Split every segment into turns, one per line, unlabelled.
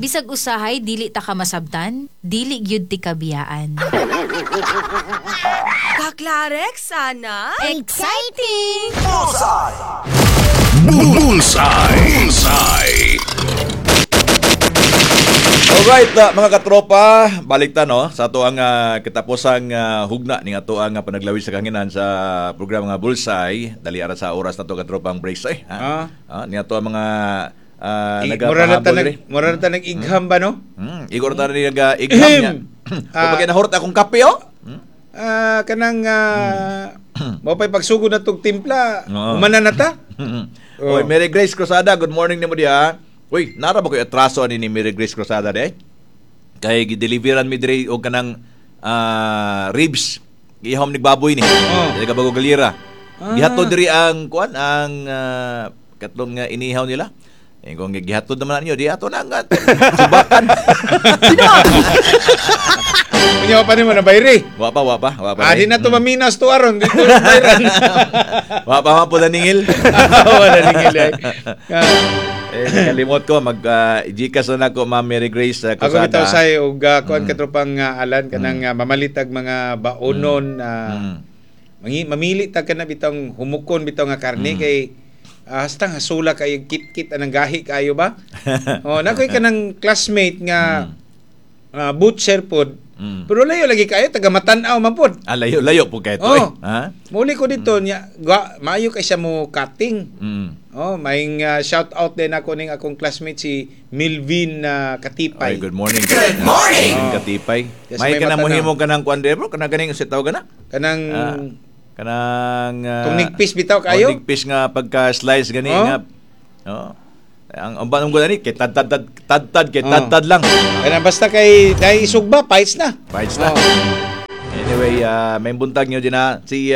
Bisag usahay dili ta ka masabtan, dili gyud ti kabiyaan.
Kaklarex, sana.
Exciting!
Bullseye. Bullseye.
Alright, mga katropa, balik ta, no, sa ato ang katapusang hugna ning ato ang panaglawis sa kahanginan sa programa nga Bullseye. Dali ara sa oras nato, katropang breaks ay. Ha?
Ah.
Ni ato ang mga
Mura na ta
nagapahabol
nag
diri.
Mura na ta nag-igham ba, no?
Igor ta ni naga-igham niya.
Ah.
Kung nahurot akong kape, oh.
Kanang mao pay pagsugod na tog timpla, humana na ta.
Oy, Mary Grace Cruzada, good morning nimo diha. Uy, nara ba koy atraso ani ni Mary Grace Cruzada de? Kay gideliveran mi diri og kanang ribs. Gihom ni baboy ni.
Oh.
Dili ka bago galira. Gihatod diri ang kuan ang katlong nga inihaw nila. Eh, kung gihatod naman ninyo, di ato na ang subakan.
Unya pa nimo na bayri.
Wa pa, wa pa, wa pa.
Ah, di na to maminas to aron dito bayran.
Wa pa man po naningil.
Wala ningil eh.
Eh, nakalimot ko mag Gcash na nako, Ma'am Mary Grace
Ako
Cruzada.
bitaw say og kuan, katropang Alan, kanang mamalitag mga baonon, mamili ta kana bitong humukon bitaw nga karne kay hastang hasula kayo, kit-kit anang gahi kayo ba? Oh, nakoy kanang classmate nga butcher pod. Pero layo lagi kayo, taga Matan-aw man pod.
Ah, layo, layo po kayo to
Oh.
eh. Ha?
Muli ko dito niya, maayo kay siya mo cutting. Oh, maing shout out din ako ning akong classmate si Milvin Katipay.
Ay, good morning. Good morning. Katipay.
Yes,
May
may
kanang
matanaw.
mohimo kanang kuan bro, kanang ganing sa tawag na.
Kanang
Kanang
Tong nigpis bitaw kayo?
Oh, nigpis nga pagka slice gani
Oh.
nga. Oh. Ang banong ko ni kay tad tad tad tad tad kay
Oh.
tad tad lang.
Kanang basta kay dai isugba fights na.
Fights na.
Oh.
Anyway, may buntag nyo din na si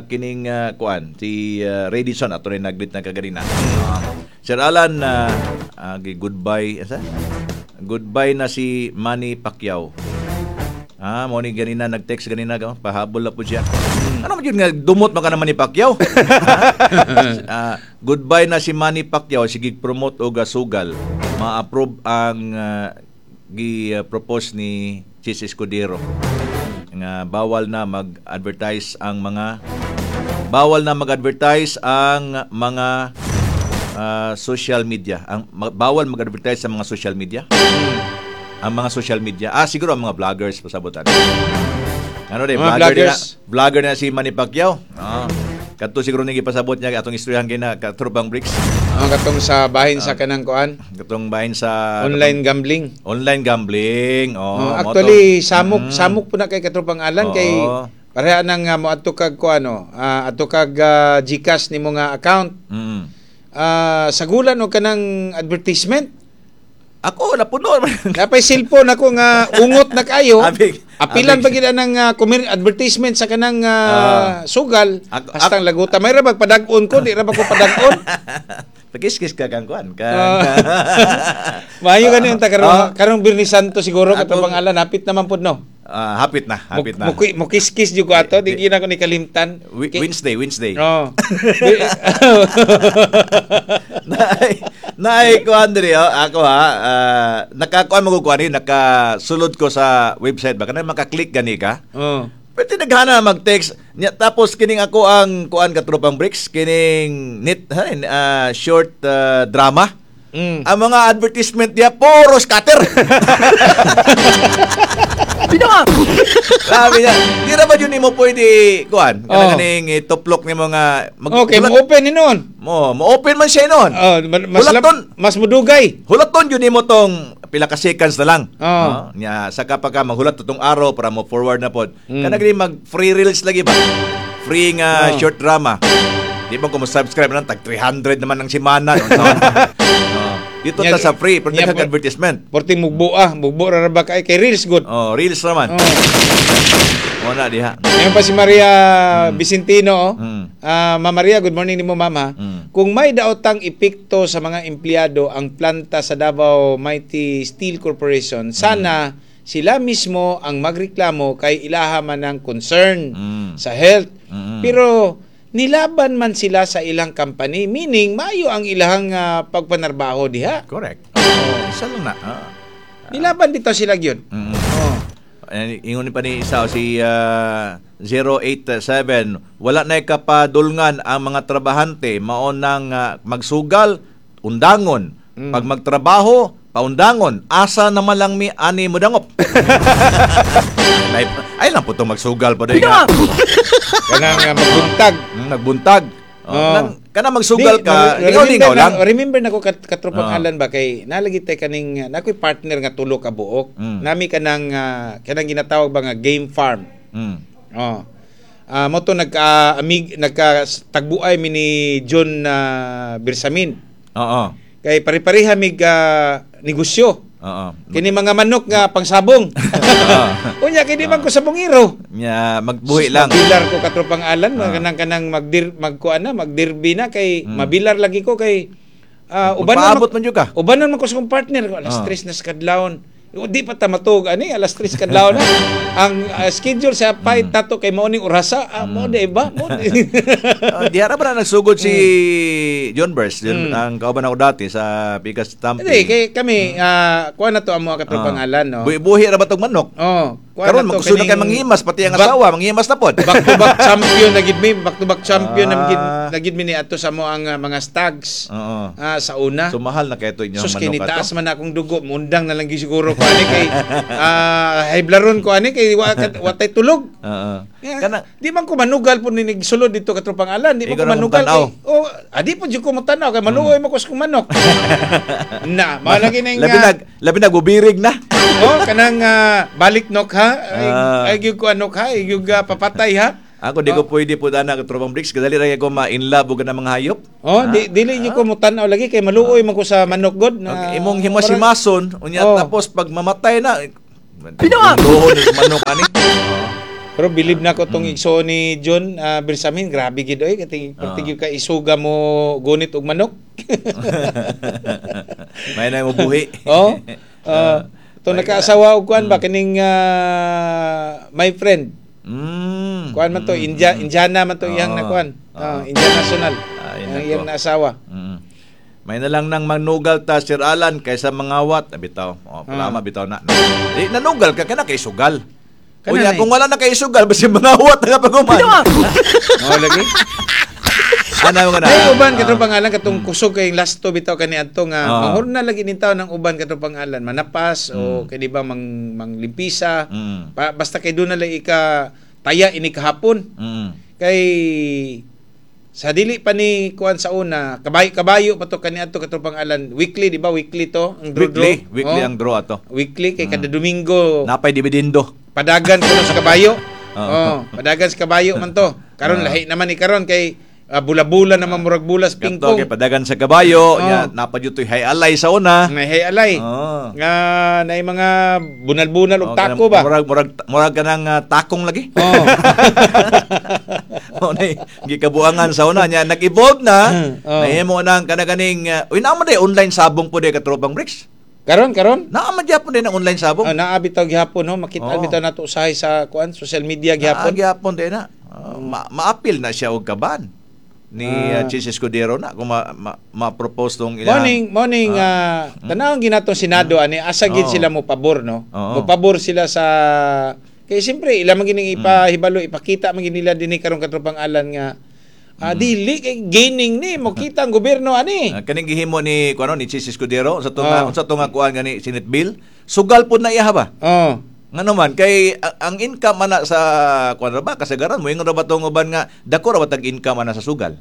kining kuan si Radisson ato rin naglit na kaganina. Sir Alan, goodbye asa? Goodbye na si Manny Pacquiao. Ah, mo ni ganina nag-text ganina ka, pahabol na po siya. Ano man yun nga dumot man ka naman ni Pacquiao? Ah, goodbye na si Manny Pacquiao, sige promote og sugal. Ma-approve ang gi-propose ni Chis Escudero nga bawal na mag-advertise ang mga social media. Ang bawal mag-advertise sa mga social media. Ang mga social media. Ah, siguro ang mga vloggers pasabutan. Ano de,
Mga
vlogger na,
vloggers.
vlogger na si Manny Pacquiao. Ah. Kadto siguro ning gipasabot niya atong istoryahan kay na katrobang bricks.
Ang katong sa bahin sa kanang kuan,
Katong bahin sa
online gambling.
Online gambling. Oh,
Oh,
mo to.
actually samok samok po na kay katropang Alan kay
Oo.
pareha nang moadto kag kuan, no, adto kag GCash nimo nga account. Sagulan og kanang advertisement.
Ako napuno.
Napay cellphone ako nga ungot na kayo. Apilan
abig.
pa gid ang advertisement sa kanang sugal. Hastang laguta. May ra bag padag-on ko, di ra ba ko padag-on?
Pakiskis ka kang kuan. Kang,
Maayo gani unta karong karong Birni Santo siguro,
Ako-
katong Alan, hapit naman pud, no.
Ah, hapit na, hapit na.
Mukiskis jud ko ato, di gyud ako ni kalimtan.
Wednesday, Wednesday.
Oh.
Naay, naay kuan diri oh, ako ha, nakakuan mo ko kuan ni, nakasulod ko sa website ba kanang maka-click gani ka.
Oh.
Pwede naghana mag-text niya, tapos kining ako ang kuan, katropang bricks, kining net ha, short drama. Ang mga advertisement niya puro scatter. Sabi niya, di ra ba yun nimo pwede kuan?
Oh.
Kanang kaning ituplok nimo nga
Okay, mo-open ni noon.
Mo open man siya noon.
Oh, mas
Hulaton.
mas mudugay.
Hulaton yun nimo tong pila ka seconds na lang.
Oh.
No? Nya saka pa ka maghulat tong araw para mo forward na pod. Kana gani mag free reels lagi ba? Free nga
Oh.
short drama. Di ba kung mo-subscribe na lang, tag 300 naman ang simana. No? Oh. Dito ta sa free, pero
Nya
daghang advertisement.
Porting mugbo, mugbo ra ba kay reels good.
Oh, reels naman.
Oh.
Mo na diha.
Ngayon pa si Maria Vicentino. Oh. Ah, Ma'am Maria, good morning nimo, ma'am, ha. Kung may daotang epekto sa mga empleyado ang planta sa Davao Mighty Steel Corporation, sana sila mismo ang magreklamo kay ilaha man ang concern sa health. Pero nilaban man sila sa ilang company, meaning maayo ang ilahang pagpanarbaho diha.
Correct. Isa lang na.
Nilaban bitaw sila gyud. Oh.
Ingon pa ni isa si 087, wala na kapadulngan ang mga trabahante, mao nang magsugal undangon, pag magtrabaho paundangon, asa naman lang mi ani modangop. Ay lang po itong magsugal pa din.
Kanang magbuntag.
Nagbuntag. Oh. Kanang magsugal ka, lingaw-lingaw lang.
Remember na ko katropang Alan ba kay nalagi tay kaning nakoy partner nga tulo ka buok. Nami kanang kanang ginatawag ba nga game farm. Oh. Mo to nagka amig nagka tagbuay mi ni John Bersamin.
Oo.
Kay pare-pareha mig negosyo.
Oo.
Kini mga manok nga pangsabong. Unya kini man ko sabongero.
Nya magbuhi lang.
Mabilar ko katropang Alan, kanang magdir magkuan na, magdirbi na kay mabilar lagi ko kay ubanon
man jud ka.
Ubanon man ko sa akong partner, alas 3 na sa kadlawon. Di pa ta matug ani alas 3 kadlawon na. Ang schedule sa fight tato kay mao ning orasa, mo di ba? Mo.
Diara ba na nagsugod si John Burst, ang kauban ako dati sa Pikas Tampi.
Hindi kay kami kuan na to ang mga katropang Alan, no.
Buhi ra ba tong manok?
Oh,
karon magkusunod kay manghimas pati ang asawa, manghimas na pod.
Back to back champion na gid mi, back to back champion na gid mi ni ato sa mo ang mga stags. Sa una.
So mahal na kay to inyong
manok. Sus,
kinitaas
man akong dugo, mundang na lang gyud siguro ko ani kay hayblaron ko ani kay watay tulog.
Kana
di man ko manugal po ni nigsulod dito katropang Alan, di man ko manugal kay oh, adi po jud ko motanaw kay maluoy man ko sa manok. Na, mao lagi ning
labi nag bubirig na.
Oh, kanang balik nok ha. Ay gyud ko anok ha, ay gyud papatay ha.
Ako di ko pwede po ana katropang Bricks, kadali ra ko ma-in love og mga hayop.
Oh, dili gyud ko motan-aw lagi kay maluoy man ko sa manok god na.
Okay, imong himas-himason unya tapos pag mamatay na pinuha manok ani.
Pero believe na ko tong igsoon ni John Bersamin, grabe gid oy kay pertig ka isuga mo gunit og manok.
May na mo buhi.
Oh. To nakaasawa og kuan ba kining my friend. Kuan man to Indiana man to iyang na kuan. Indian national. Ang iyang naasawa.
May na lang nang manugal ta Sir Alan kaysa mangawat bitaw. Oh, palama bitaw na. Di nanugal ka kana kay sugal. Unya kung wala na kay sugal basi mangawat na pag-uman.
Oh lagi.
Ano nga na?
Ay uban katong pangalan katong kusog kay last to bitaw kani adto nga manghurna lagi nin tawo ng uban katong pangalan manapas o kay di ba manglimpisa basta kay doon na lang ika taya ini kahapon. Kay sa dili pa ni kuan sa una kabayo pa to kani adto katong pangalan weekly di ba weekly to ang draw
weekly ang draw ato.
Weekly kay kada Domingo
napay dividendo.
Padagan kuno sa kabayo. Oh, padagan sa kabayo man to. Karon lahi naman ni karon kay bula-bula naman murag bulas pingpong.
Kato kay padagan sa kabayo, nya napadyotoy hay alay sa una.
May hay alay. Nga naay mga bunal-bunal og tako ba.
Murag kanang takong lagi.
Oh.
Mao nay gikabuangan sa una nya nag-evolve na. Nahimo nang kanaganing uy naa man day online sabong po day katropang Bricks.
Karon?
Naa man gyapon din ang online sabong.
Naa bitaw gihapon no, makita bitaw nato usahay sa kuan social media gihapon.
Naa gihapon din na. Maapil na siya og kaban ni Chis Escudero na kung ma-propose tong ilang
morning tanawon ginatong Senado ani asa gid sila mo pabor no. Mo pabor sila sa kay siyempre ila man gining ipahibalo ipakita man nila dinhi karon katropang Alan nga dili kay gaining ni mo kita ang gobyerno ani.
Kaning gihimo ni kuno ni Chis Escudero sa tunga sa tunga kuan gani Senate bill sugal pud na iya ba. Ngano man kay ang income ana sa kuan ra ba kasagaran mo ingon ra ba tong uban nga dako ra ba tag income ana sa sugal.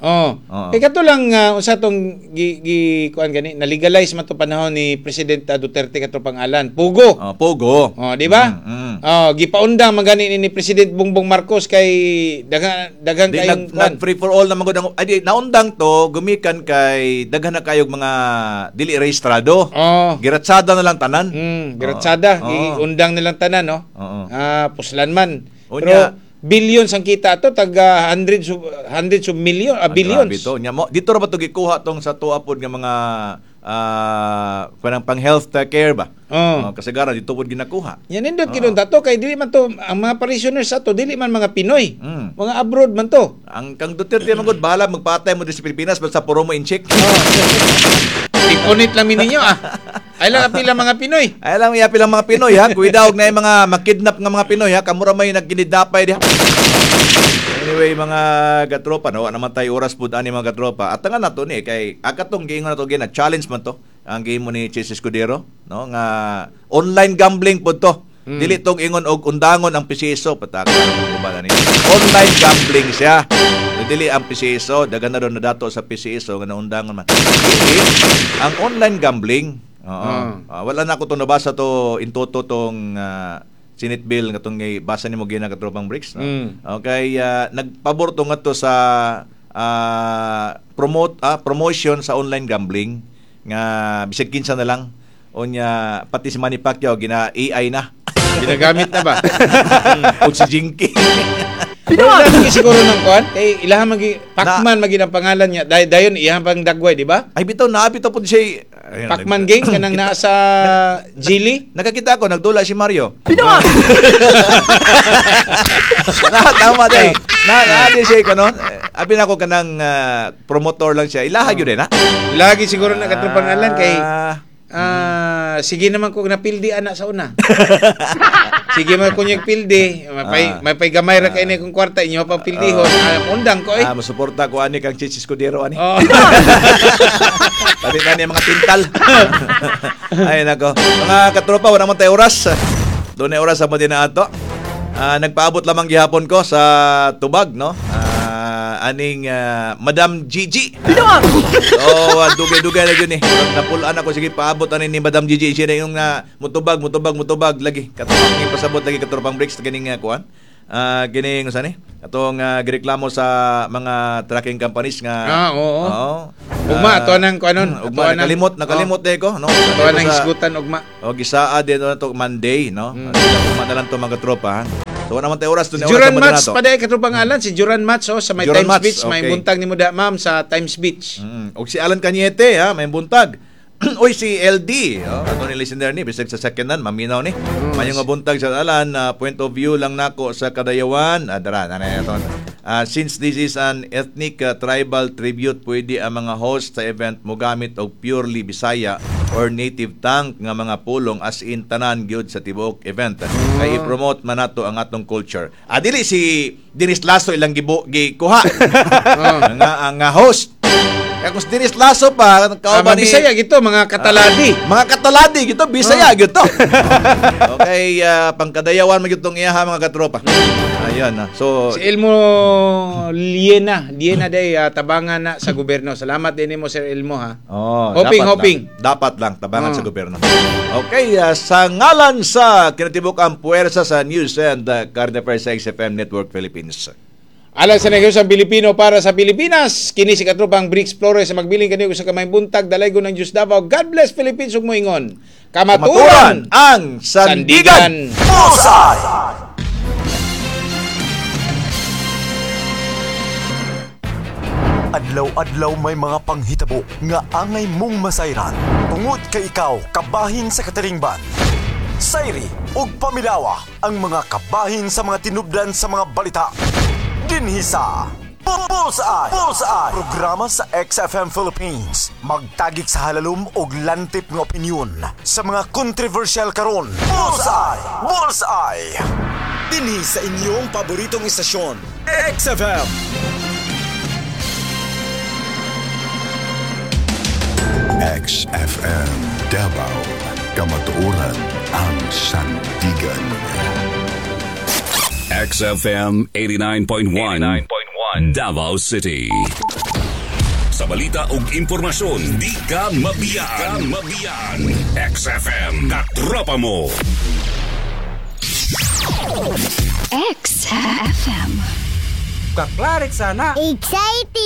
Kay kato lang usa tong gi kuan gani na legalize man to panahon ni President Duterte katropang Alan. Pugo.
Pugo.
Di ba? Gipaundang man gani ni President Bongbong Marcos kay daghang kayong
nag free for all na man gud ang ay naundang to gumikan kay daghan na kayog mga dili rehistrado. Giratsada na lang tanan.
Giratsada, giundang nilang tanan. No? Puslan man. Pero billions ang kita ato, taga hundreds of million, billions.
Grabe to. Dito ra ba to gikuha tong sa tuwa pod nga mga kanang pang health care ba? Kasagaran dito pod ginakuha.
Yan nindot kidon tato kay dili man to ang mga parishioners ato dili man mga Pinoy. Mga abroad man to.
Ang kang Duterte man gud bahala magpatay mo diri sa Pilipinas basta puro mo in check.
Ipunit lang ninyo ah. Ay lang apila mga Pinoy.
Ay lang yapil ang mga Pinoy ha. Cuidado na yung mga makidnap nga mga Pinoy ha. Kamura may nagkinidnapay diha. Anyway, mga katropa, no, naman tayo oras pud ani mga katropa. At nga nato ni kay akatong giingon nato gina challenge man to ang game mo ni Chase Escudero, no, nga online gambling pud to. Dili tong ingon og undangon ang PCSO pataka ba ni. Online gambling siya. Dili ang PCSO, daghan na ron na dato sa PCSO nga naundangon man. Dili ang online gambling. Oo. Wala na ako to nabasa to in toto tong Senate bill nga tong basa nimo gina katropang Bricks, no? Okay, nagpabor to ngadto sa promote promotion sa online gambling nga bisag kinsa na lang unya pati si Manny Pacquiao gina AI na.
Ginagamit na ba?
Og si Jinky.
Pero lagi siguro ng kuan kay ilaha magi Pacman magi ang pangalan niya. Dayon iyang pang dagway, di ba?
Ay bitaw na bitaw pud siya.
Pacman gang kanang naa sa Gili.
Nakakita ko nagdula si Mario. Na tama day. Na di siya ko no. Abi na ko kanang promotor lang siya. Ilaha gyud na.
Lagi siguro na katong pangalan kay sige naman kung napildi ana sa una. Sige man kunyag pildi, mapay gamay ra kay ni kung kwarta inyo pa pildihon. Undang ko eh.
Musuporta ko ani kang Chichis Escudero ani. Pati na niya mga tintal. Ay nako. Mga katropa, wala man tayo oras. Doon na oras sa mo din na ato. Nagpaabot lamang gihapon ko sa tubag, no? Aning Madam Gigi. So, dugay-dugay na yun eh. Napulaan ako, sige, paabot ani ni Madam Gigi. Siya na yung mutubag lagi. Katropang ipasabot lagi katropang Bricks kining kuan. Kining usa ni? Atong gireklamo sa mga trucking companies nga.
Oo. Oo. Ugma ato nang kuanon.
Ugma nakalimot day ko, no.
Ato nang hisgutan ugma.
O gisaa din na to Monday, no. Ugma na lang to mga tropa, ha. So wala man tayo oras doon.
Duran Mats paday katropang Alan, si Duran Mats oh sa may Duran Times Mats, Beach, okay. May buntag nimo da ma'am sa Times Beach.
Og si Alan Cañete ha, may buntag. Oy si LD, oh, ato ni listener ni bisag sa second hand maminaw ni. Mayong nga buntag sa Alan, point of view lang nako sa Kadayawan. Dara na ato. Since this is an ethnic tribal tribute, pwede ang mga host sa event mogamit og purely Bisaya or native tongue nga mga pulong as in tanan gyud sa tibuok event. Kay i-promote man nato ang atong culture. Dili si Dennis Lasso ilang gikuha. Nga host. Kaya kung si Dennis Lasso pa,
kauban ni Bisaya gito, mga kataladi.
Mga kataladi gito, Bisaya gito. Okay, pangkadayawan man gitong iyaha mga katropa. Ayun na. So
si Elmo Liena day tabangan na sa gobyerno. Salamat din nimo Sir Elmo ha.
Oh,
hoping.
Dapat lang tabangan sa gobyerno. Okay, sa ngalan sa kinatibuk-ang puwersa sa News and Current Affairs sa XFM Network Philippines.
Alang sa negosyo ang Pilipino para sa Pilipinas, kini si katropang Bricks Flores sa magbiling kaniyo sa kamay buntag dalaygon ng Diyos Davao. God bless Philippines ug moingon. Kamaturan
ang sandigan.
Bullseye! Adlaw-adlaw may mga panghitabo nga angay mong masayran. Tungod kay ikaw kabahin sa katalingban. Sayri ug pamilawa ang mga kabahin sa mga tinubdan sa mga balita. Dinhi sa Bullseye! Bullseye! Programa sa XFM Philippines. Magtagik sa halalom og lantip nga opinyon sa mga kontrobersyal karon. Bullseye! Bullseye! Dinhi sa inyong paboritong istasyon, XFM. XFM Davao, Kamatuoran ang sandigan.
XFM 89.1 Davao City. Sa balita ug impormasyon, di ka mabiyaan. XFM, katropa mo.
XFM.
Kaklarik sana.
Exciting!